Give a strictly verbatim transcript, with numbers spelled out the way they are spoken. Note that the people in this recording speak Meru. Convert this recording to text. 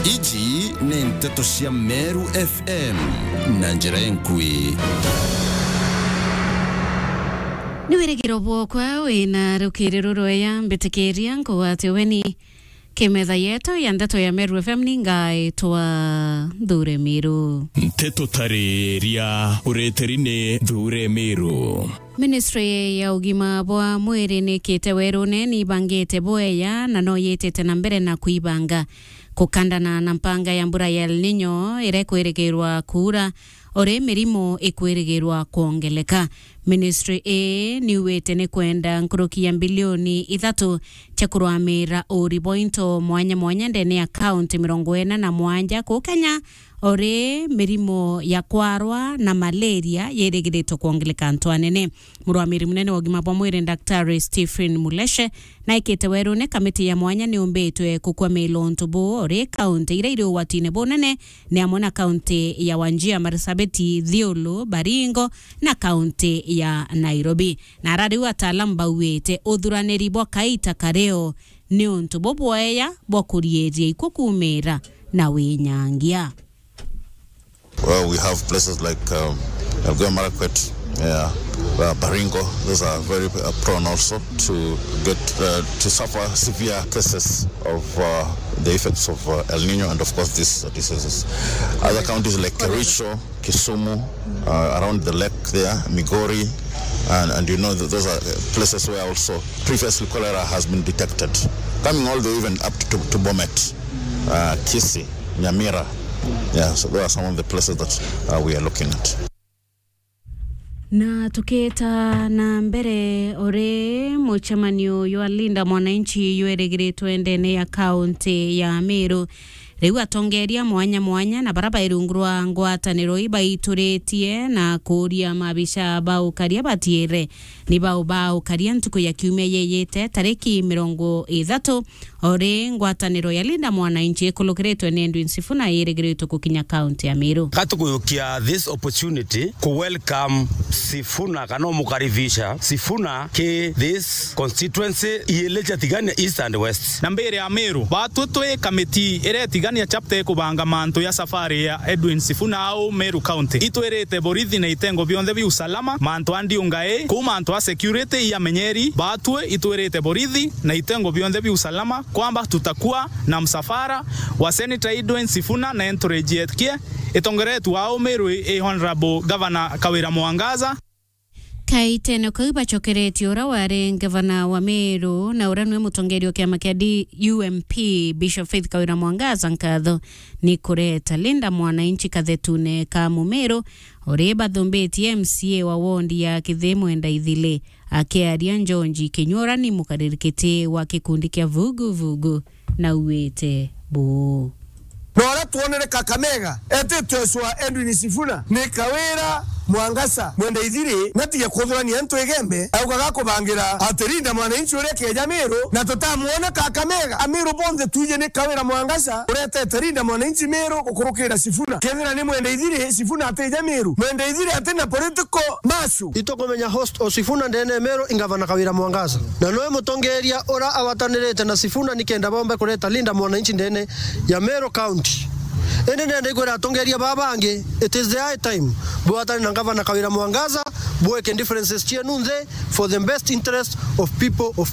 Iji ni nteto cia Meru F M na njira enkui. Ni wirigiro bwokwa wina rukiri rurweya, mbitikiria nkugwate weni kimetha yetu ya nteto ya Meru F M, ni ngaitwa Nthure Miru. Nteto tariria ureteri ni Nthure Miru. Ministry ya ugima bwa mwiri nikite werune ni ibangite bweya na no yitite na mbere na kuibanga kukandana na mpanga ya mbura ya El Nino iria ikwirigirwa kuura, ori mirimo ikwirigirwa kwongeleka. Ministry ii niugite ni kwenda nkuruki ya mbilioni ithatu cia kurwamira uri bwa into mwanya mwanya ndene ya kaunti mirongo ina na mwanja kuu Kenya, ori mirimo ya kwarwa na malaria yirigiritwe kwongeleka antu anene. Murwamiri munene wa ugima bwa mwiri, Daktari Stephen Muleshe, naikite werune kamiti ya mwanya niumbitwe kukwamira untu buu, ori kaunti iria iri ugwatine bunene ni amwe na kaunti ya Wajir, Marsabit, Isiolo, Baringo na kaunti ya Nairobi. Na ara riu ataalamu bauite uthuraniri bwa kaita kario ni untu bubweya bwa kuriiria ikuu kuumira na winyangia. Well, we have places like, um, Elgeyo Marakwet, yeah, uh, Baringo. Those are very, uh, prone also to get, uh, to suffer severe cases of, uh, the effects of, uh, El Nino and, of course, these, uh, diseases. Other counties like Kericho, Kisumu, uh, around the lake there, Migori, and, and you know, th-, those are, uh, places where also previously cholera has been detected, coming all the way even up to, to Bomet, uh, Kisii, Nyamira. Yeah, so those are some of the places that, uh, we are looking at. Na tukita na mbere, uri mucemanio jwa Linda Mwananchi jwirigiritwe ndene ya kaunti ya Meru, riu atongeria mwanya mwanya na bara bai rungu rwa ngwataniro ibaituritie na kuuria maabisa ba ukaria batiire ni bau ba ukaria ntuku ya kiumia yeyite tariki mirongo ithatu. Ori ngwataniro ya Linda Mwananchi ikulukiritwe ni Edwin Sifuna yirigiritwe gukinya kaunti ya Meru. Gatukuyukia this opportunity ku welcome Sifuna kana umukaribisha Sifuna ki this constituency iili cia Tigania East and West. Na mbere ya Meru, batwi twi kamiti iria Tigania chapter ikubanga mantu ya safari ya Edwin Sifuna au Meru County. Itwirite borithi na itengo bionthe bia usalama, mantu a ndiunga ii, kuu mantu a security iamenyeri, batwi itwirite borithi na itengo bionthe bia usalama kwamba tutakuwa na msafara wa Senator Edwin Sifuna na entourage yake itongeretwe au Meru i Honorable Governor Kawira Mwangaza. Kaitene kau bacokeretie uria wari ngavana wa Meru na uria niwe mutongeria wa kiama kia D-, U M P, Bishop Faith Kawira Mwangaza nkatho ni kureta Linda Mwananchi kathetune ka Mumeru, uri bathumbitie M C A wa wondi ya Kithii Mwenda Ithili. Akiaria Njonji Kinyora ni mukaririkiti wa gikundi kia Vugu Vugu, na auite buu. Na uria twonere Kakamega, etitwe Joshua Edwin Sifuna, ni Kawira Mwangaza Mwenda Ithiri, natige kuthurania antu igembe, augaga kubangira ati Linda Mwananchi uria keja Meru, na tutamwona Kakamega. Ameru bonthe twiji ni Kawira Mwangaza uretete Linda Mwananchi Meru gukurukira Sifuna. Kethira ni Mwenda Ithiri, Sifuna atija Meru. Mwenda Ithiri atina political masu. Itukumenya host o Sifuna ndene Meru i Ngavana Kawira Mwangaza. Na noe mutongeria ura awatanirite na Sifuna nikenda bombe kureta Linda Mwananchi ndene ya Meru County. Indi nenda ikwira atongeria baba bangi, it is the high time bwatane na Ngavana Kawira Mwangaza, bweke differences cienu nthi for the best interest of people of